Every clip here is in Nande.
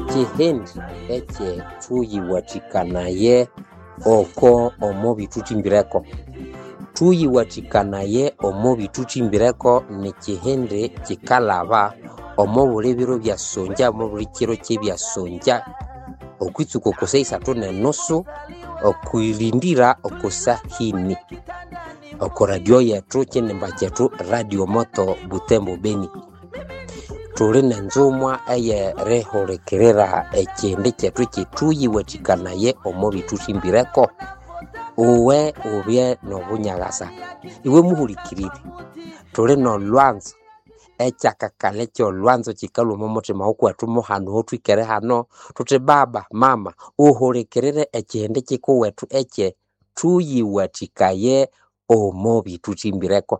Ekihindi ekyethuyiwathikanaye oko omo bithuthimbireko. Thuyiwathikanaye omo bithuthimbireko nikihindi kikalhaba omo buli biro byasongya omo buli kiro kyebyasongya okwitsuka oko saha isathu nenusu okwirindira oko sahini oko radio yethu kinimba kyethu Radio Moto Butembo Beni. Thuli nenzumwa eyerihulikirira ekihindi kyethu kyethuyiwathikanaye omo bithuthimbireko. Uwe ubye nobunyaghasa, iwe muhulikiriri, thuli nolhwanzo ekyakakalha ekyolhwanzo kyikalhwa omo muthima wukuwethu muhano owothwikere hano, thuthi baba, mama, uhulikirire ekihindi kyikuwethu ekye thuyiwathikaye omo bithuthimbireko.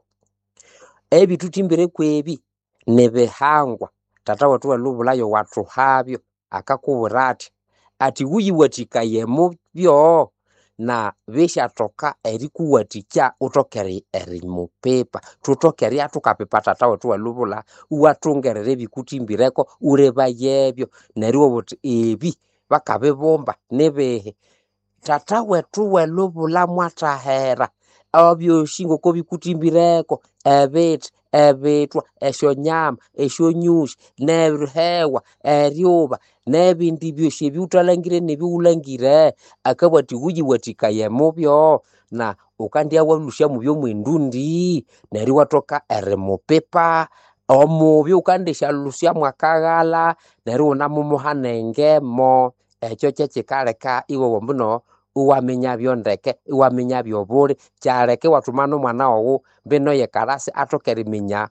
Ebithuthimbireko ebi nibihangwa, tata wethu welhubulha wathuhabyo akakubwira athi, athi wuyiwathikaye mubyo na bisyathoka erikuwathikya wuthoke erimupipa. Thuthoke eribya thukapipa tata wethu welhubulha iwathungerera ebikuthimbireko wulebayebyo neryo iwabugha wuthi ebi bakabibumba nibihi. Tata wethu welhubulha mwathahera ebyosi ngoko bikuthimbireko, ebithi, ebithwa, esyonyama, esyonyusi, nerihewa, eryuba, nebindi byosi ebiwuthalangire nebiwulhangire, akabugha athi wuyiwathikaye mubyo na wukandya walhusya mubyo mwendundi neryo iwathoka erimupipa omubyo wukandisyalusya mwakaghalha neryo iwunamumuha nengemo. Ekyo kyekikaleka iwowa ambuno iwaminyabyo ndeke, iwaminyabyo obuli, kyaleka iwathuma nomwana waghu mbino eyekalasi athoke eriminya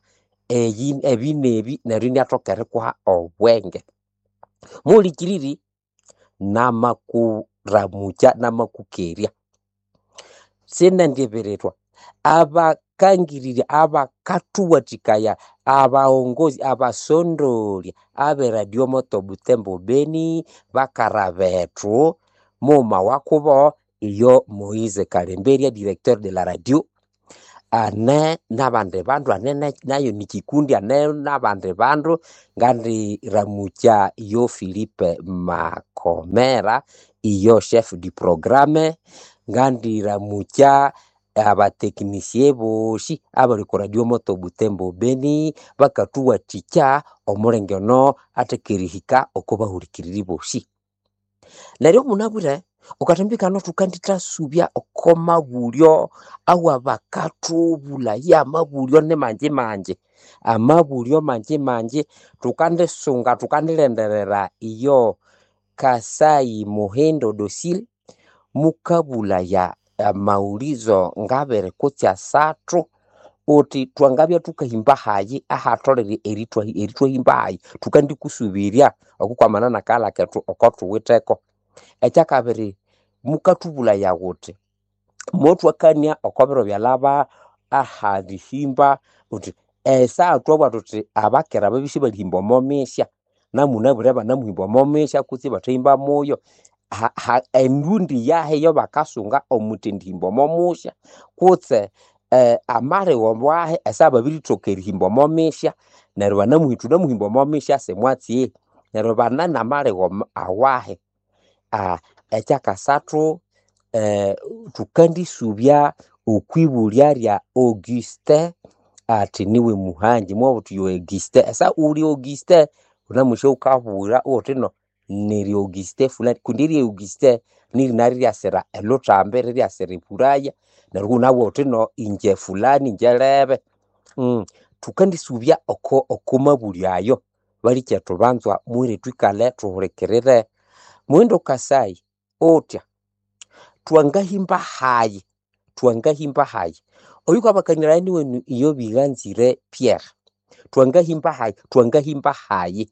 eyi ebi nebi neryo iniathoka erikuha obwenge. Muhulikiriri, namakuramukya namakukerya, sinendibirirwa abakangirirya abakathuwathikaya abaghongozi abasondolya abe Radio Moto Butembo Beni bakara bethu mughuma wakubo iyo Moise Kalemberya directeur de la radio ane nabandi bandu ane nayo nikikundi ane nabandi bandu ngandiramukya iyo Philipe Makomera iyo chef du programme ngandiramukya abateknisie bosi abali ku Radio Moto Butembo Beni bakathuwathikya omulenge ono athaka erihika oko bahulikiriri bosi. Neryo munabwire wukathambikana thukandithasubya oko mabulyo awabakathubulaya amabulyo nimangi mangi, amabulyo mangi mangi thukandisunga thukandilindirira iyo Kasai Muhindo Docile mukabulaya amawulizo ngabiri kutse asathu wuthi thwangabya thukahimba hayi ahatholere erithwahimba hayi thukandikusubirya okukwamana nakaghalha kethu okothuwitheko. Ekyakabiri mukathubulaya wuthi mothwakania oko biro byalhaba aharihimba wuthi esaha thwabugha thuthi abakera babya isibalihimba omo misya namunabwire banamuhimba omo misya kutse ibathahimba muyo, endundi yahi eyabakasunga omwithendihimba omo musya kutse amaligho wahi esaha babirithoka erihimba omo misya neryo thunamuhimba omo misya simwatsi neryo bane namaligho awahi. Ekyakasathu thukandisubya okwibulya lya Augustin athi niwe muhangi mwabugha wuthi yo Augustin esaha wuli Augustin wunamusya wukabugha wuthino niri Augustin fulani kundi erya Augustin nirina riryasira elhuthambi riryasira ebulaya neryo iwunabugha wuthino ingye fulani ingye lebe. Thukandisubya oko mabulyo ayo balikyetu banzwa mughire thwikalhe thuhulikirire. Muhindo Kasai uthya thwangahimba hayi, thwangahimba hayi oyukabakaniraya niwenu iyo Biganzire Pierre, thwangahimba hayi, thwangahimba hayi.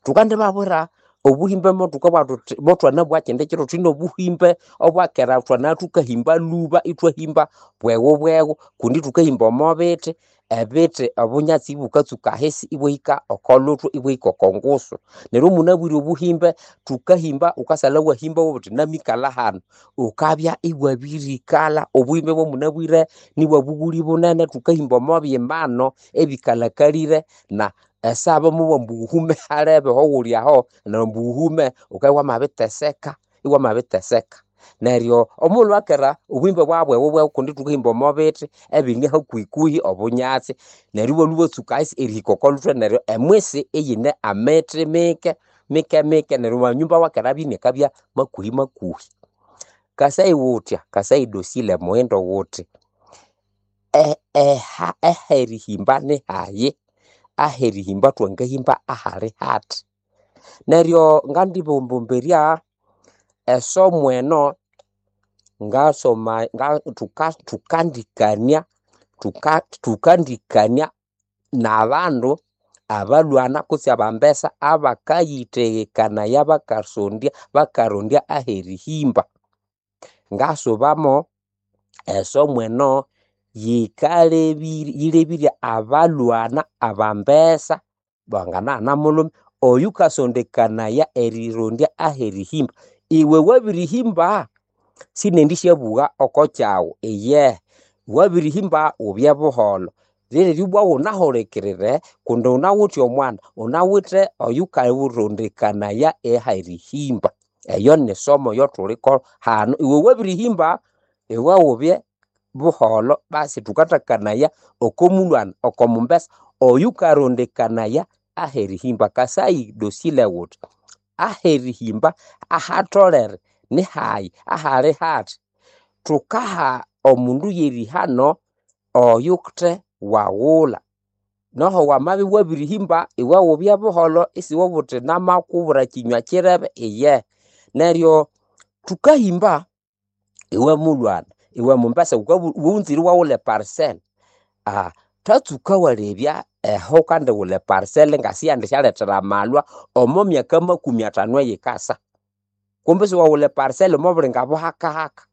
Thukandibabwira obuhimbe mothukabugha thuthi mothwanabugha kyindi kiro thuthine obuhimbe obwakera thwanabya thukahimba lhuba ithwahimba bweghu bweghu kundi thukahimba omo bithi, ebithi obunyatsi ibukatsuka ahisi ibwahika oko luthwe ibwahika oko ngusu. Neryo munabwire obuhimbe thukahimba wukasalha iwahimba iwabugha wuthi namikalha hanu wukabya iwabirikalha. Obuhimbe bwamunabwire nibwabughuli bunene thukahimba omo byimano ebikalhakalire na Esaba mubugha ambu wuhume halebe ahowuli aho neryo ambu wuhume wukabya iwamabiteseka iwamabiteseka. Neryo omughulhu akera obuhimba bwabya bwewu kundi thukahimba omo bithi ebine hakuhikuhi obunyatsi neryo ibwalhwa ibwatsuka erihika oko luthwe neryo emwisi iyine amithi mike mike mike neryo amanyumba awakera abya inakabya makuhi makuhi. Kasai wuthya kasai dosile muhindo wuthi eherihimba nihayi aherihimba thwangahimba ahali hathi. Neryo ngandibombombirya esomo eno ngasoma thukandikania thukandikania nabandu abalhwana kutse abambesa abakayithegekanaya bakasondya bakarondya aherihimba. Ngasubamo esomo eno yilebirye abalhwana abambesa banganaghana mulhume oyukasondekanaya erirondya aherihimba. Iwe wabirihimba sinendisyabugha oko kyaghu iyehe wabirihimba wubye buholho liryo ibwa wunahulikirire kundi wunawithe omwana wunawithe oyukarondekanaya aherihimba. Eyo nisomo eyathuliko hanu iwe wabirihimba iwe wubye buholho basi thukathakanaya oko mulhwana oko mumbesa oyukarondekanaya aherihimba. Kasai dosile wuthi aherihimba ahatholere nihayi ahali hathi. Thukaha omundu yerihano oyuthe waghulha noho wamabya iwabirihimba iwe wubye buholho isiwabugha wuthi namakubwira kinywa kirebe iyehe. Neryo thukahimba iwe mulhwana iwe mumbesa wunzire iwaghulha eparcel thatsuka walebya eho wukandighulha eparcel ngasiyandisyalethera amalhwa omo myaka makumi athanu eyikasa. Kumbe isiwaghulha eparcel omo bulinga buhakahaka.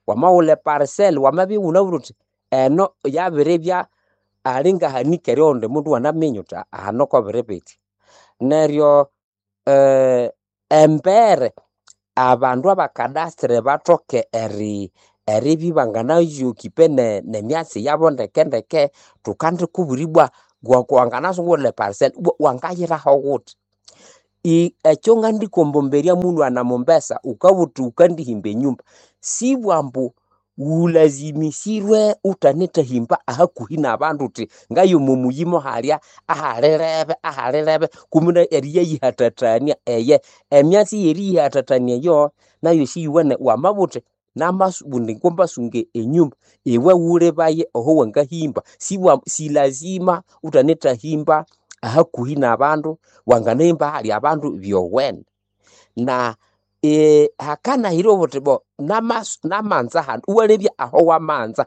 Wamaghulha eparcel wamabya iwunabwire wuthi eno yabiribya alingahanika eryoghundi mundu iwanaminya wuthi hano kobiri bithi. Neryo embere abandu abakadasture bathoke eribya ibanganayokipe nemyatsi yabo ndeke ndeke thukandikubwira ibwa wanganasunga iwaghulha eparcel ibwa wangayiraho wuthi. Ekyo ngandikombombesya mulhwana mumbesa wukabugha wuthi wukandihimba enyumba sibwa ambu wulazimisirwe wuthanethahimba ahakuhi nabandu wuthi ngaya omo muyi mohalya ahalirebe ahalirebe kumbe eriyayihathathania eyehe. Emyatsi yeriyihathathania eyo nayo siyuwene wamabugha wuthi namabundi ngombasunga enyumba iwe wulebaye aho wangahimba sibwa silazima wuthanethahimba ahakuhi nabandu wanganahimba ahali abandu byowene. Na hakanahira obuthi bo namanza hanu iwalebya aho wamanza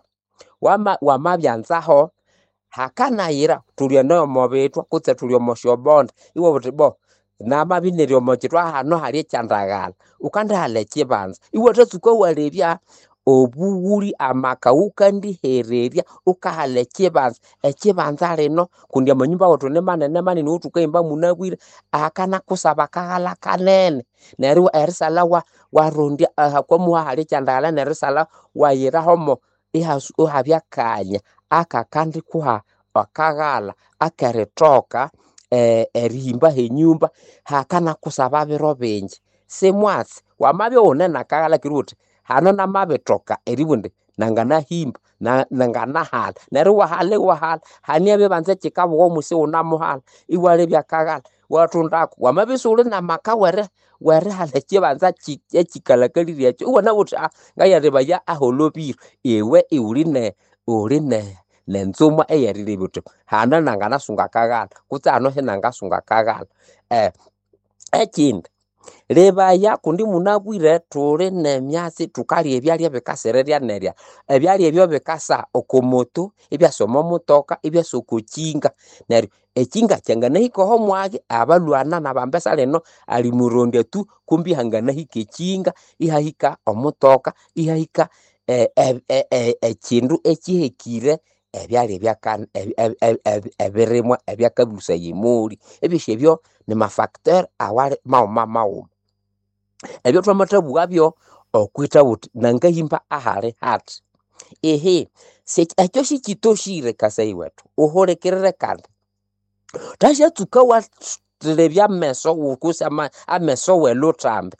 wamabyanzaho hakanayira thuli eno omo bithwa kutse thuli omo syobonde iwabugha wuthi bo namabya iniri omo kithwa hano hali ekyandaghalha wukandihalha ekyibanza iwathatsuka walebya obughuli amaka wukandihererya wukahalha ekyibanza, ekyibanza lino kundi amanyumba wethu nimanene manene owothukahimba munabwire akanakusaba akaghalha kanene neryo erisalha warondya ahakwamuha hali ekyandaghalha neryo erisalha wayirahomo ihabya akanya akakandikuha akaghalha akerithoka erihimba henyumba hakanakusaba biro bingi. Simwatsi wamabya iwune nakaghalha neryo wuthi hano namabithoka eribugha indi nanganahimba nanganahala neryo iwahala iwahala hane ebibanza ekikabugha omo isiwunamuhala iwalebya akaghalha iwathundako wamabya isiwuli namaka werihala ekibanza ekikalhakalire ekyo iwanabugha wuthi ngayalebaya aholobire iwe iwuli nenzuma eyerilebya wuthi hano nanganasunga akaghalha kutse hano sinangasunga akaghalha. Ekindi lebaya kundi munabwire thuli nemyatsi thukalya ebyalya ebikasira erya nerya. Ebyalya ebyo bikasa oko moto, ibyasa omo mutoka, ibyasa oko kinga. Neryo ekinga kyanganahika oho mwagi abalhwana nabambesa lino alimurondya tu kumbi hanganahika ekinga, ihahika omutoka, ihahika ekindu ekihekire ebyalya ebirimwa ebyakabusaya emoli. Ebyosi ebyo nimafacteur awali maghuma maghuma. Ebyo thwamathabughabyo okwithabugha wuthi nangahimba ahali hathi. Ihi ekyo sikyitoshire kasai wethu wuhulikirire kandi. Thashatsuka wathelebya ameso kutse ameso w'elhutambi,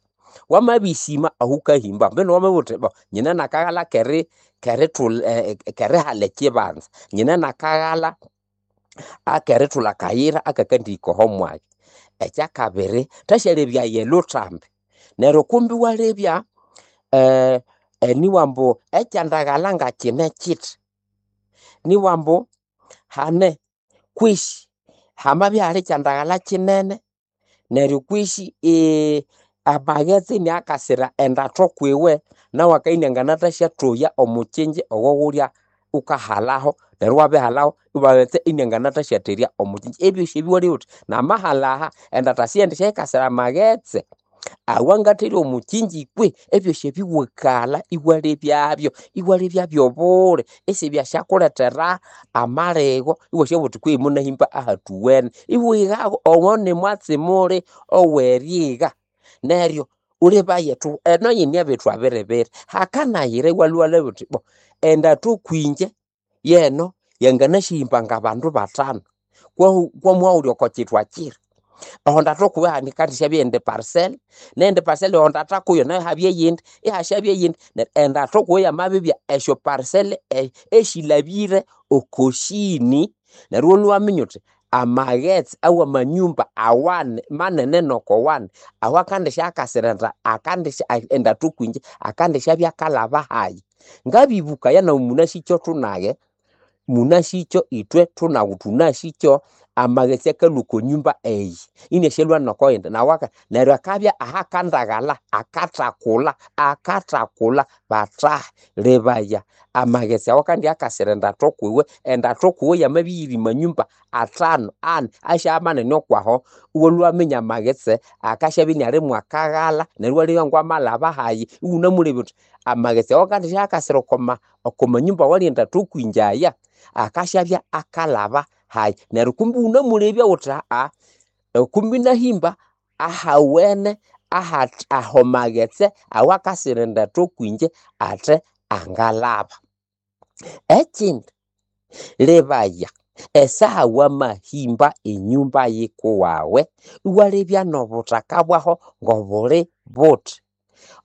wamabisima ahukahimba mbino wamabugha wuthi bo nyine nakaghalha kerihala ekibanza, nyine nakaghalha akerithulha akayira akakandihika oho mwanya. Ekyakabiri, thasyalebyaya elhutambi neryo kumbi iwalebya nibwa ambu ekyandaghalha ngakyine kyithi, nibwa ambu hane kwisi hamabya ihali ekyandaghalha kyinene neryo kwisi amaghetse iniakasira endatho kwiwe, nawu akabya inianganathasyathoya omukyinji owawulya wukahalaho neryo iwabihalaho amaghetse inianganathasyatherya omukyinji. Ebyosi ebi iwalebya wuthi namahalha aha endatha siyendisyaikasira amaghetse awangatherya omukyinji kwe? Ebyosi ebi iwakalha iwalebyabyo, iwalebya byobule isibyathasyakulethera amaligho iwasyabugha wuthi kwehi munahimba ahathuwene. Iwigha omo nimwatsi muli owerigha neryo wulebaye thuhu eno yine ebitwa biribiri, hakanayira iwalhwa iwalebya wuthi bo endatho kwinje yeno yanganasyahimba ngabandu bathanu kwamwabya iwuli oko kyithwa kiri. Oho ndathu kuwe hakandisyabya eyindi parcel, neyindi parcel oho ndatha kuyo nayo ihabya eyindi, ihasyabya eyindi, neryo endathu kuwe yamabibya esyo parcel esilhabire oko sini, neryo iwalhwa iwaminya wuthi amaghetse awamanyumba awani manene noko wani awakandisya akandisya endathu kwinje akandisyabya akalhaba hayi. Ngabibukaya nawu munasikyo thunage, munasikyo ithwe thunagu thunasikyo amaghetse akalhwa oko nyumba eyi iniasyalhwa noko yindi neryo akabya ahakandaghalha akathakulha, akathakulha bathahi lebaya amaghetse awakandya akasira endatho kwiwe, endatho kwiwe yamabya iyiri manyumba athanu, ani, asyabya manene okwaho, iwalhwa iwaminya amaghetse akasyabya iniali mwakaghalha neryo iwalebya ngwamalhaba hayi, iwunamulebya wuthi amaghetse awakandisya akasira oko manyumba awali endatho kwinje aya, akasyabya akalhaba hayi, neryo kumbi iwunamulebya wuthi kumbi inahimba ahawene aho maghetse awakasira endatho kwinje athe angalhaba. Ekindi, lebaya esaha wamahimba enyumba yikuwawe, iwalebya nobuthaka bwaho ngobuli buthi.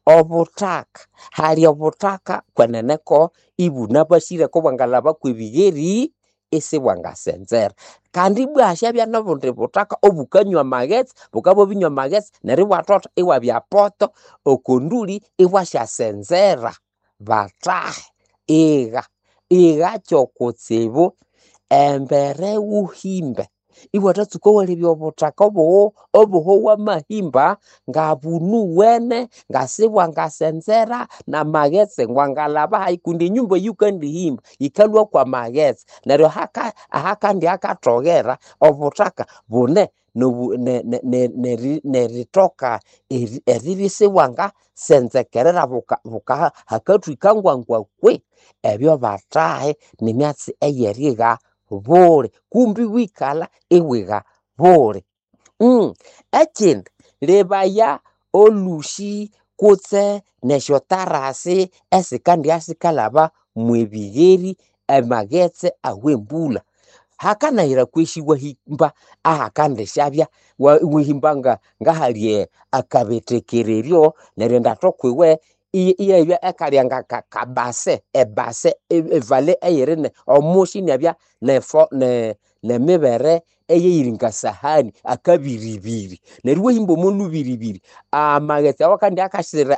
Obuthaka, hali obuthaka kwenene ko ibunabasire kobwangalhaba kwebigheri isibwangasenzera. Kandi ibwa hasyabya nobundi buthaka obukanywa amaghetse, bukabya bwabinywa amaghetse neryo ibwathotha iwabya poto oko nduli ibwasyasenzera. Bathahi, igha, igha kyokutsibu embere wuhimbe iwathatsuka walebya obuthaka obuho wamahimba ngabunuwene, ngasibwangasenzera, namaghetse ngwangalhaba hayi kundi enyumba eyikandihimba yikalhwa kwamaghetse neryo ahakandi akathoghera obuthaka bune neritoka eribya isibwangasenzekerera hakathwika ngwangwa kwe. Ebyo bathahi nimyatsi eyerigha buli kumbi iwikalha iwigha buli. Ekindi lebaya olhusi kutse nesyotarasi esikandya sikalhaba mwebigheri amaghetse awembulha. Hakanayira kwesi iwahimba ahakandisyabya iwahimba ngahali akabetekereryo neryo endatho kwiwe iyabya ekalya ngakabase ebase evale eyiri omusi inabya nemibere eyiri ngasahani akabiribiri neryo iwahimba omo lubiribiri amaghetse awakandya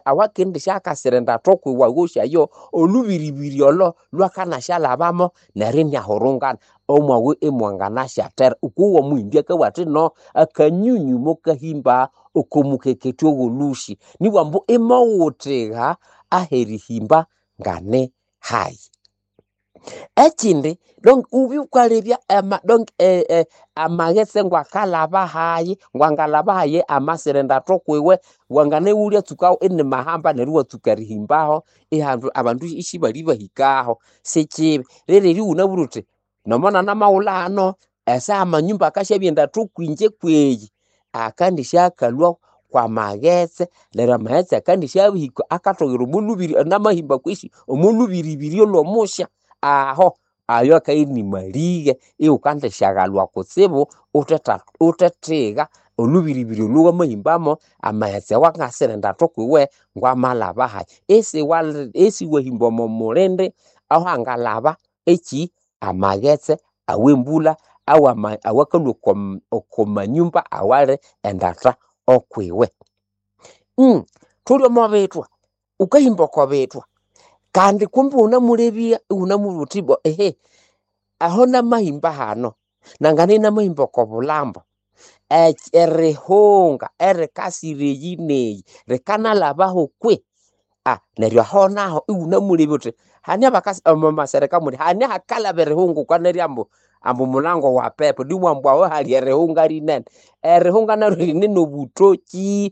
awakendisya akasira endatho kwiwe awosi ayo, olubiribiri olo lwakanasyalhabamo neryo iniahurungana omwawe imwanganasyathera. Ukuwa omuhimbi akabugha athi no akanyunyu mukahimba oko mukeketya owolhusi nibwa ambu imowuthigha aherihimba ngani hayi. Ekindi donc wubye wukalebya donc amaghetse ngwakalhaba hayi, ngwangalhaba hayi amasira endatho kwiwe, wanganawulya tsukaho inimahamba neryo iwatsuka erihimbaho ihandu abandu isibalibahikaho, sikibi. Rero iwunabwire wuthi nomo nanamawulha hano esaha amanyumba akasyabya endatho kwinje kweyi, akandisya akalhwa kwamaghetse neryo amaghetse akandisya hika akathoghera omo lubiri namahimba kwesi omo lubiribiri olwomusya aho. Ayo akabya ini malighe ighukandisyagalhwa kutsibu uthethiga olhubiribiri olho wamahimbamo amaghetse awangasira endatha okwiwe ngwamalhaba hayi. Isiwahimba omo mulindi ahangalhaba ekyi amaghetse awembulha awakalhwa oko manyumba awali endatha okwiwe. Thuli omo bithwa, wukahimba oko bithwa kandi kumbi iwunamulebya iwunamubwira wuthi ibwa ehe aho namahimba hano nanganabya inamahimba oko bulhambo, erihunga erikasira eyi neyi rikanalhabaho kwihi? Neryo aho naho iwunamulebya wuthi hane abakasi omo masereka muli hane ahakalhaba erihunga wukanerya ambu mulango wa pepo nibwa ambu aho hali erihunga rinene. Erihunga naryo rine nobutoki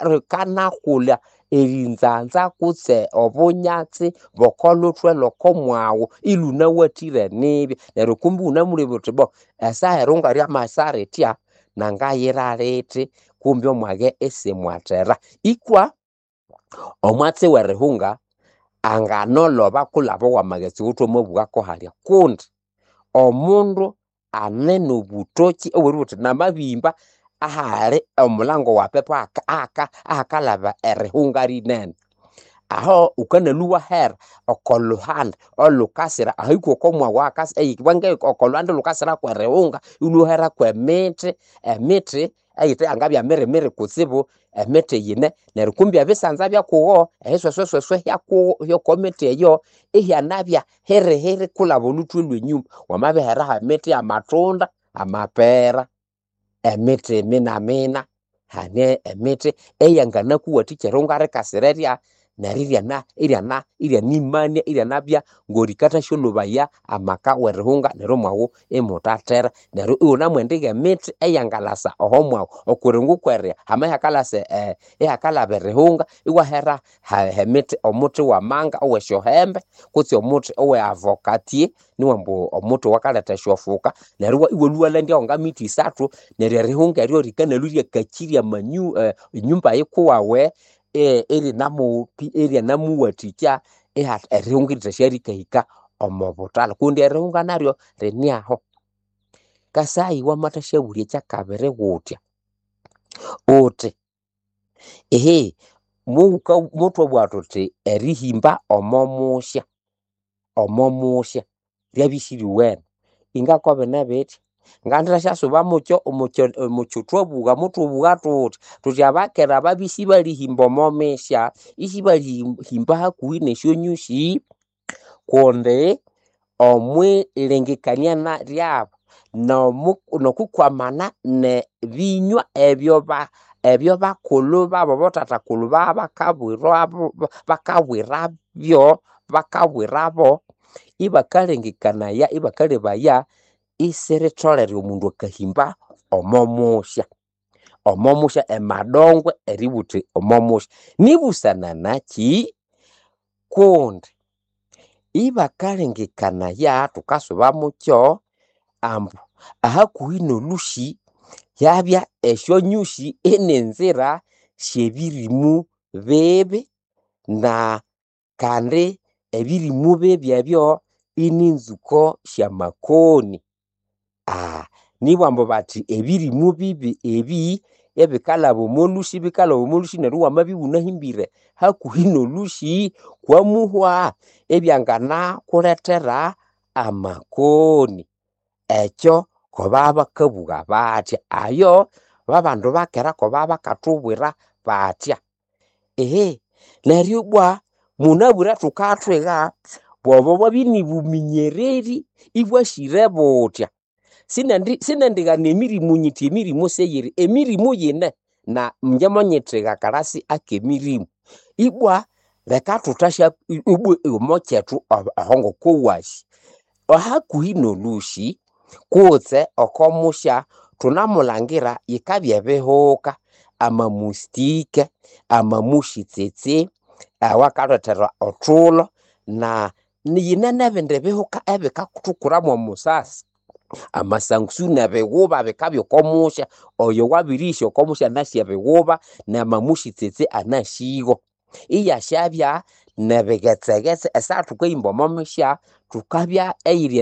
rikanakulha erinzanza kutse obunyatsi bwoko luthwe lwoko mwaghu ilhunawathire nibya. Neryo kumbi iwunamulebya wuthi bo esaha erihunga ryamasa rithya nangayira lithi kumbi omwage isimwathera. Ikwa omwatsi werihunga anganoloba kulhaba owamaghetse awathwamabugha halya kundi omundu ane nobutoki obweribugha wuthi namabihimba ahali omulango wa pepo ahakalhaba erihunga rinene. Aho wukanalwa iwahera oko lhuhandi olhukasira ahahika oko mwaghu oko lhuhandi olhukasira kwerihunga iwalhwa iwahera kwemithi, emithi eyithe yangabya mirimiri kutsibu, emithi yine neryo kumbi ebisanza byakugo, ebisweswesweswe hyoko mithi eyo ihyanabya hirihiri kulhaba olhuthwe lwenyuma. Wamabiheraho emithi yamatunda, amapera, emithi minamina, hane emithi eyanganakuwathikya erihunga rikasira erya neryo iryana iryana iryanimania iryanabya ngorikathasyolhobaya amaka werihunga neryo omwaghu imuthathera. Neryo iwunamwendigha emithi eyangalasa oho mwaghu okuringo kweria hama ihakalasa ihakalhaba erihunga iwahera emithi omuthi wamanga owesyohembe kutse omuthi owe avocatier niwambu omuthi owakaletha esyofuka neryo iwalhwa iwalandyawo ngamithi isathu neryo erihunga eryo rikanalhwa iryakakirya enyumba yikuwawe iryanamuwathikya erihunga erithasyarikahika omo buthalha kundi erihunga naryo rine aho. Kasayi wamathasyabulya ekyakabiri wuthya, wuthi ehe muthwabugha thuthi erihimba omo musya, omo musya ryabya isiryowene, ingakobine bithya, ngandithasyasuba mukyo omukyuthwabugha muthwabugha thuthi, thuthi abakera babya isibalihimba omo misya, isibalihimba hakuhi nesyonyusi kundi omwilengekania ryabu nokwikwamana nebinywa ebyo bakulhu babu abathathakulhu bakabwirabyo bakabwirabo, ibakalengekanaya ibakalebaya isiritholere omundu akahimba omo musya, omo musya emadongwe eribugha wuthi omo musya. Nibusana nakyi? Kundi ibakalengekanaya thukasuba mukyo ambu ahakuhi nolhusi hyabya esyonyusi ininzira syebirimu bibi na kandi ebirimu bibi ebyo ininzuko syamakoni. Nibwa ambu bathi ebirimu bibi ebi ebikalhaba omo lhusi bikalhaba omo lhusi neryo iwamabya iwunahimbire hakuhi nolhusi kwamuhwa ibyanganakulethera amakoni. Ekyo kobabakabugha bathya ayo babandu bakera kobabakathubwira bathya. Ehe neryo ibwa munabwire thukathwiga bwobo bwabya inibuminyereri ibwasire buthya. Sinendighana emirimu nyithi emirimu siyiri, emirimu yine na ingye monyithiga akalasi akemirimu. Ibwa leka thuthasya ibwa omo kyethu aho ngokowasi, ahakuhi nolhusi kutse oko musya thunamulangira yikabya ebihuka, amamustike, amamushitsitsi awakalethera othulho na yine nebindi bihuka ebikathukura mwomusasi. Amasangusu nebighuba bikabya oko musya, oyo wabirihisa oko musya anasi ebighuba namamushitsitsi anasigo. Iyasyabya nebighetsegetse esaha thukahimba omo misya. Thukabya eyiri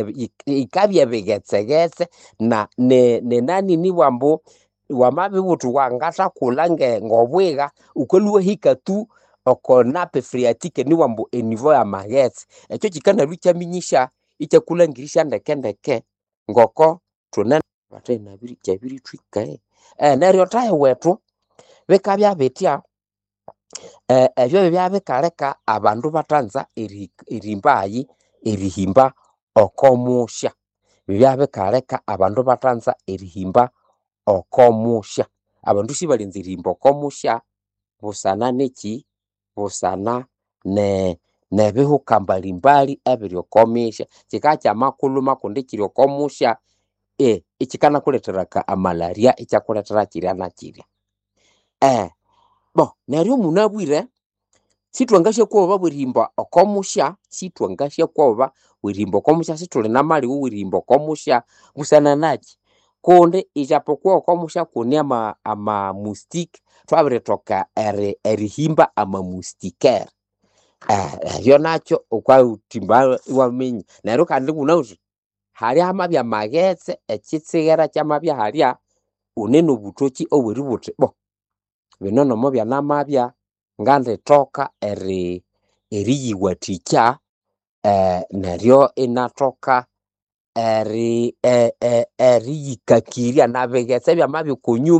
yikabya ebigetsegetse na nenani nibwa ambu wamabibugha wuthi wangathakulha ngobwiga, wukalhwa iwahika tu oko nape phreatic nibugha ambu enivo yamaghetse. Ekyo kyikanalwa ikyaminyisya ikyakulhangirisya ndekendeke ngoko thune kyabirithwika. Neryo thahi wethu bikabya bithya, ebyo byabya bikaleka abandu ibathanza erihimba hayi erihimba oko musya. Bibya bikaleka abandu ibathanza erihimba oko musya. Abandu sibalyanza erihimba oko musya busana nikyi busana nebihuka mbalimbali ebiri oko misya. Kyikabya kyamakuluma kundi ikyiri oko musya, ikyikanakulethera amalaria ikyakulethera kyirya nakyirya. Neryo munabwire sithwangasyakwoba bwerihimba oko musya, sithwangasyakwoba bwerihimba oko musya, sithuli namalighu awerihimba oko musya busana nakyi? Kundi ijapokuwa oko musya kune ama moustiques, thwabirithoka erihimba ama moustiquaire. Ebyo nakyo wukathimba iwaminya. Neryo kandi ighunawithe halya hamabya amaghetse, ekyitsigera kyamabya halya, wune nobuthokyi obweribugha wuthi bo bino nomubyanamabya ngandithoka eriyiwathikya neryo inathoka eriyikakirya nabighetse byamabya okwa nyumba.